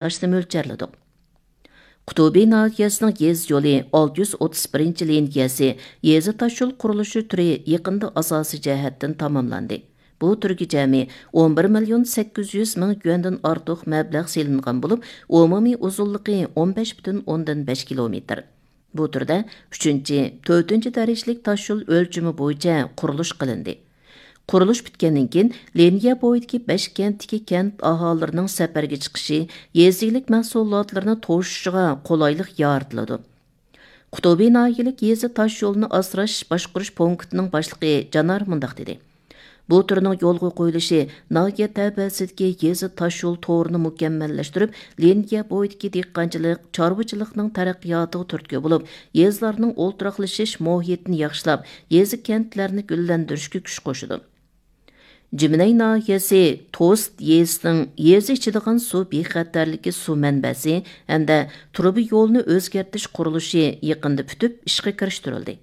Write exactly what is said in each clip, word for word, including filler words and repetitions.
ئاشنى مۆلچەرلىدۇق. قۇتۇبى ناھىيەسىنىڭ يېزا يولى ئالتە يۈز ئوتتۇز بىرىنچى لىنىيەسى يېزا تاشيول قۇرۇلۇشى تۈرى يېقىندا ئاساسىي جەھەتتىن تاماملاندى. بۇ تۈرگە جەمئىي ئون بىر مىليون سەككىز يۈز مىڭ يۈەندىن ئارتۇق مەبلەغ سېلىنغان بولۇپ، ئومۇمىي ئۇزۇنلۇقى ئون بەش پۈتۈن ئوندىن بەش كىلومېتىر. بۇ تۈردە ئۈچىنچى، تۆتىنچى دەرىجىلىك تاشيول ئۆلچىمى بويىچە قۇرۇلۇش قىلىندى. قۇرۇلۇش پۈتكەندىن كېيىن، لىنىيە بويىدىكى بەش كەنتتىكى كەنت ئاھالىلىرىنىڭ سەپەرگە چىقىشى، يېزا ئىگىلىك مەھسۇلاتلىرىنى توشۇشىغا قولايلىق يارىتىلىدۇ. قۇتۇبى ناھىيەلىك يېزا تاشيولىنى ئاسراش باشقۇرۇش پونكىتىنىڭ باشلىقى جانار مۇنداق دېدى: بۇ تۈرنىڭ يولغا قويۇلۇشى ناھىيە تەۋەسىدىكى يېزا تاشيول تورىنى مۇكەممەللەشتۈرۈپ، لىنىيە بويىدىكى دېھقانچىلىق، چارۋىچىلىقنىڭ تەرەققىياتىغا تۈرتكە بولۇپ، يېزىلارنىڭ ئولتۇراقلىشىش مۇھىتىنى ياخشىلاپ، يېزا كەنتلەرنى گۈللەندۈرۈشكە كۈچ قوشىدۇ. جىمىنەي ناھىيەسى توست يېزىسىنىڭ يېزا ئىچىدىغان سۇ بىخەتەرلىكى سۇ مەنبەسى ھەمدە تۇرۇبا يولىنى ئۆزگەرتىش قۇرۇلۇشى يېقىندا پۈتۈپ، ئىشقا كىرىشتۈرۈلدى.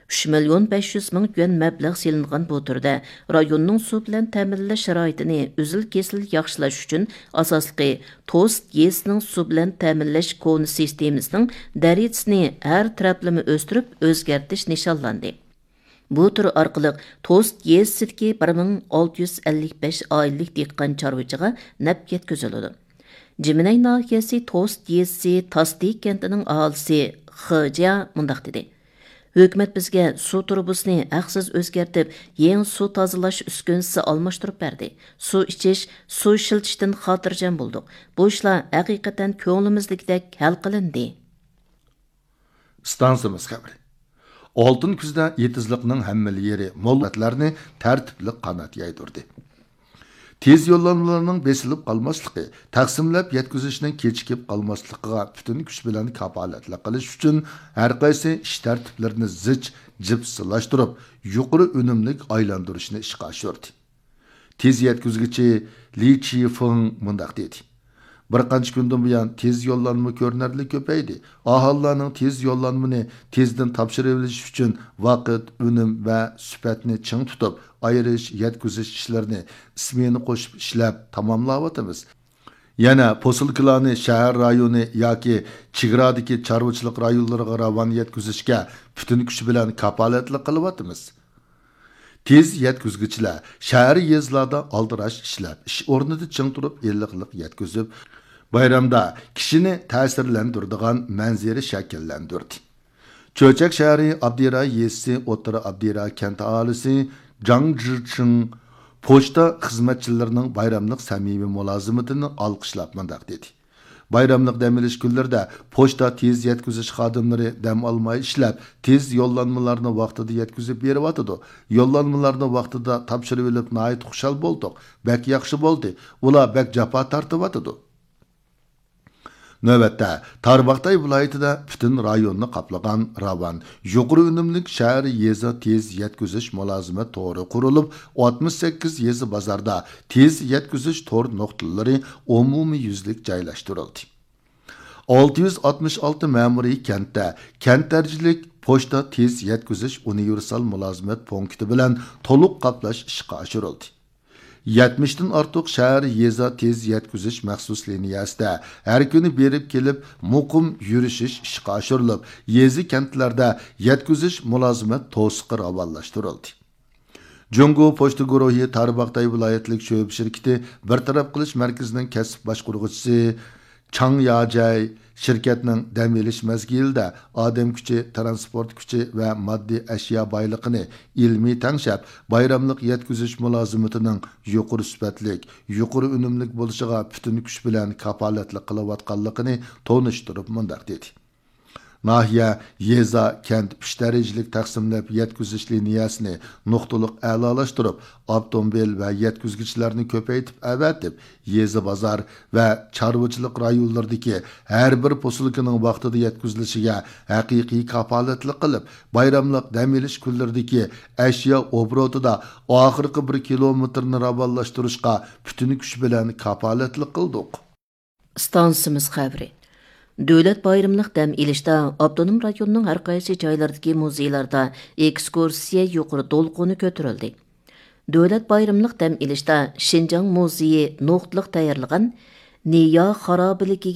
ئۈچ مىليون بەش يۈز مىڭ يۈەن مەبلەغ سېلىنغان بۇ تۈردە رايوننىڭ سۇ بىلەن تەمىنلەش شارائىتىنى ئۈزۈل-كېسىل ياخشىلاش ئۈچۈن، ئاساسلىقى، توست يېزىسىنىڭ سۇ بىلەن تەمىنلەش كونا سىستېمىسىنىڭ دەرىجىسىنى ھەر تەرەپلىمە ئۆستۈرۈپ ئۆزگەرتىش نىشانلاندى. بۇ تۈر ئارقىلىق توست يېزىسىدىكى بىر مىڭ ئالتە يۈز ئەللىك بەش ئائىلىلىك دېھقان چارۋىچىغا نەپ يەتكۈزۈلىدۇ. جىمىنەي ناھىيەسى توست يېزىسى تاستى كەنتىنىڭ ئاھالىسى خې جيا مۇنداق دېدى: ھۆكۈمەت بىزگە سۇ تۇرۇبىسىنى ھەقسىز ئۆزگەرتىپ، يېڭى سۇ تازىلاش ئۈسكۈنىسى ئالماشتۇرۇپ بەردى. سۇ ئىچىش، سۇ ئىشلىتىشتىن خاتىرجەم بولدۇق. بۇ ئىشلار ھەقىقەتەن كۆڭلىمىزدىكىدەك ھەل قىلىندى. ئىستانسىمىز خەۋىرى. ئالتۇن كۈزدە ئېتىزلىقنىڭ ھەممىلا يېرى مول ئەتلەرنى تەرتىپلىك قانات يايدۇردى. تېز يوللانمىلارنىڭ بېسىلىپ قالماسلىقى، تەقسىملەپ يەتكۈزۈشنىڭ كېچىكىپ قالماسلىقىغا پۈتۈن كۈچ بىلەن كاپالەتلىك قىلىش ئۈچۈن، ھەر قايسى ئىش تەرتىپلىرىنى زىچ، جىپسىلاشتۇرۇپ، يۇقىرى ئۈنۈملۈك ئايلاندۇرۇشنى ئىشقا ئاشۇردى. تېز يەتكۈزگۈچى لى چىفېڭ مۇنداق دېدى: بىر قانچە كۈندىن بۇيان تېز يوللانما كۆرۈنەرلىك كۆپەيدى. ئاھالىلەرنىڭ تېز يوللانمىنى تېزدىن تاپشۇرۇۋېلىش ئۈچۈن ۋاقىت، ئۈنۈم ۋە سۈپەتنى چىڭ تۇتۇپ، ئايرىش، يەتكۈزۈش ئىشلىرىنى ئىسمېنا قوشۇپ ئىشلەپ تاماملاۋاتىمىز. يەنە پوسۇلكىلارنى شەھەر رايونى ياكى چېگرادىكى چارۋىچىلىق رايونلىرىغا راۋان يەتكۈزۈشكە پۈتۈن كۈچ بىلەن كاپالەتلىك قىلىۋاتىمىز. تېز يەتكۈزگۈچىلەر شەھەر، يېزىلاردا ئالدىراش ئىشلەپ، ئىش ئورنىدا چىڭ تۇرۇپ، ئىللىقلىق يەتكۈزۈپ، بايرامدا كىشىنى تەسىرلەندۈرىدىغان مەنزىرە شەكىللەندۈردى. چۆچەك شەھىرى ئابدىراي يېزىسى ئوتتۇرا ئابدىراي كەنت ئاھالىسى جاڭ جىچىڭ پوچتا خىزمەتچىلىرىنىڭ بايراملىق سەمىمىي مۇلازىمىتىنى ئالقىشلاپ مۇنداق دېدى: بايراملىق دەم ئېلىش كۈنلىرىدە پوچتا تېز يەتكۈزۈش خادىملىرى دەم ئالماي ئىشلەپ، تېز يوللانمىلارنى ۋاقتىدا يەتكۈزۈپ بېرىۋاتىدۇ. يوللانمىلارنى ۋاقتىدا تاپشۇرۇۋېلىپ ناھايىتى خۇشال بولدۇق. بەك ياخشى بولدى. ئۇلار بەك جاپا تارتىۋاتىدۇ. نۆۋەتتە، تارباغاتاي ۋىلايىتىدە پۈتۈن رايوننى قاپلىغان راۋان، يۇقىرى ئۈنۈملۈك شەھەر، يېزا تېز يەتكۈزۈش مۇلازىمەت تورى قۇرۇلۇپ، ئاتمىش سەككىز يېزا بازاردا تېز يەتكۈزۈش تور نۇقتىلىرى ئومۇميۈزلۈك جايلاشتۇرۇلدى. ئالتە يۈز ئاتمىش ئالتە مەمۇرىي كەنتتە كەنت دەرىجىلىك پوچتا تېز يەتكۈزۈش ئۇنىۋېرسال مۇلازىمەت پونكىتى بىلەن تولۇق قاپلاش ئىشقا ئاشۇرۇلدى. يەتمىشتىن ئارتۇق شەھەر، يېزا تېز يەتكۈزۈش مەخسۇس لىنىيەسىدە ھەر كۈنى بېرىپ كېلىپ مۇقىم يۈرۈشۈش ئىشقا ئاشۇرۇلۇپ، يېزا، كەنتلەردە يەتكۈزۈش مۇلازىمەت توسۇقى راۋانلاشتۇرۇلدى. جۇڭگو پوچتا گۇرۇھى تارباغاتاي ۋىلايەتلىك شۆبە شىركىتى بىر تەرەپ قىلىش مەركىزىنىڭ كەسىپ باشقۇرغۇچىسى چاڭ ياجەي شىركەتنىڭ دەم ئېلىش مەزگىلىدە ئادەم كۈچى، تىرانسپورت كۈچى ۋە ماددىي ئەشيا بايلىقىنى ئىلمىي تەڭشەپ، بايراملىق يەتكۈزۈش مۇلازىمىتىنىڭ يۇقىرى سۈپەتلىك، يۇقىرى ئۈنۈملۈك بولۇشىغا پۈتۈن كۈچ بىلەن كاپالەتلىك قىلىۋاتقانلىقىنى تونۇشتۇرۇپ مۇنداق دېدى: ناھىيە، يېزا، كەنت ئۈچ دەرىجىلىك تەقسىملەپ يەتكۈزۈش لىنىيەسىنى نۇقتىلىق ئەلالاشتۇرۇپ، ئاپتوموبىل ۋە يەتكۈزگۈچىلەرنى كۆپەيتىپ ئەۋەتىپ، يېزا، بازار ۋە چارۋىچىلىق رايونلىرىدىكى ھەر بىر پوسۇلكىنىڭ ۋاقتىدا يەتكۈزۈلۈشىگە ھەقىقىي كاپالەتلىك قىلىپ، بايراملىق دەم ئېلىش كۈنلىرىدىكى ئەشيا ئوبوروتىدا ئاخىرقى بىر كىلومېتىرنى راۋانلاشتۇرۇشقا پۈتۈن كۈچ بىلەن كاپالەتلىك قىلدۇق. ئىستانسىمىز خەۋىرى. دۆلەت بايرىملىق دەم ئېلىشتا ئاپتونوم رايوننىڭ ھەر قايسى جايلىرىدىكى مۇزېيلاردا ئېكسكۇرسىيە يۇقىرى دولقۇنى كۆتۈرۈلدى. دۆلەت بايرىملىق دەم ئېلىشتا شىنجاڭ مۇزېيى نۇقتىلىق تەييارلىغان نىيا خارابىلىكىگە